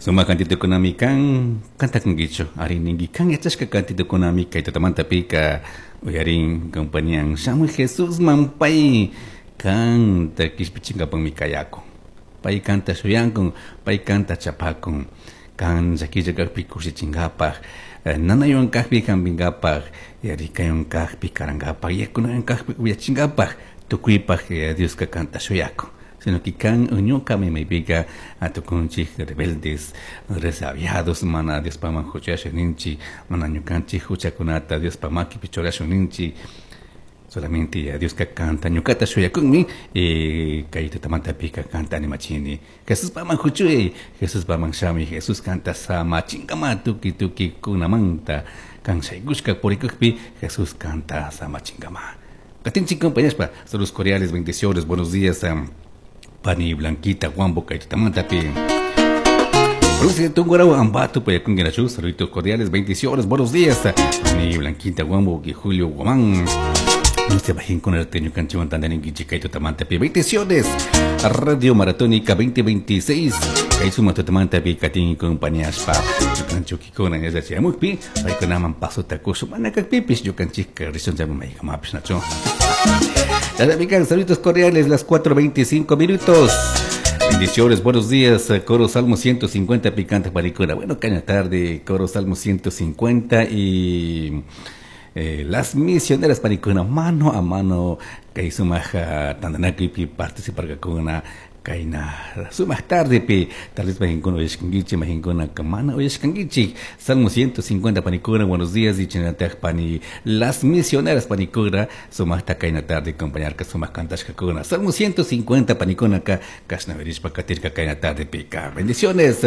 Sumak kantitukunami kan kantakunkichu ari ninki kan yachashka kantitukunami kay tutamantapika uyarin compañían shamuy Jesusman pay kanta kishpichinkapakmi kayakun pay kanta shuyankun pay kanta chapakun kan llakilla kakpi kushichinkapak nanaywan kakpi hampinkapak yarikaywan kakpi karankapak yakunawan kakpi upyachinkapak tukuypak Dioska kanta shuyakun sino que kan ñukami maypika tukunchik rebeldes resabiados mana Diospaman huchashun ninchik mana ñukanchik huchakunata Diospa makipi churashun ninchik solamente ya Dioska kanta ñukata shuyakunmi kay tutamantapika kanta animachini Jesuspaman huchuy Jesuspaman shamuy Jesus kanta samachinkama tukuy tukuy kunamanta kan shaykushka purikukpi Jesus kanta samachinkama Katinchik compañaspa saludos cordiales bendiciones buenos días Pani Blanquita Huambo kay tutamantapi Provincia de Tungurahua, Ambato, Payacunkinachu, saluditos cordiales, bendiciones, buenos días. Pani Blanquita Huambo, y Julio Guamán. No se bajen con el teño canchiwan tandaninkichi kay tutamantapi. Bendiciones. Radio Maratónica 2026. Kay suma tutamantapi katin compañaspa. Ñukanchukikuna yachachamukpi, paykunaman pasota kushu mana kakpipis ñukanchikka rishun maykamapis nachu. Saluditos cordiales, las 4:25 minutos. Bendiciones, buenos días, Coro Salmo 150, Picante Paricuna. Bueno, caña tarde, Coro Salmo 150 y las misioneras Paricuna, mano a mano, kay sumaja tandanakupi participarkakuna kayna sumaq tardepi tal vez majinkuna uyashkankichik majinkuna mana uyashkankichik Salmo 150 panikuna buenos días y chinataj pani las misioneras panikuna sumaqta kayna tarde acompañarka sumaq kantashkakuna Salmo 150 panikuna ka kashna verishpa katirka kayna tarde pika bendiciones.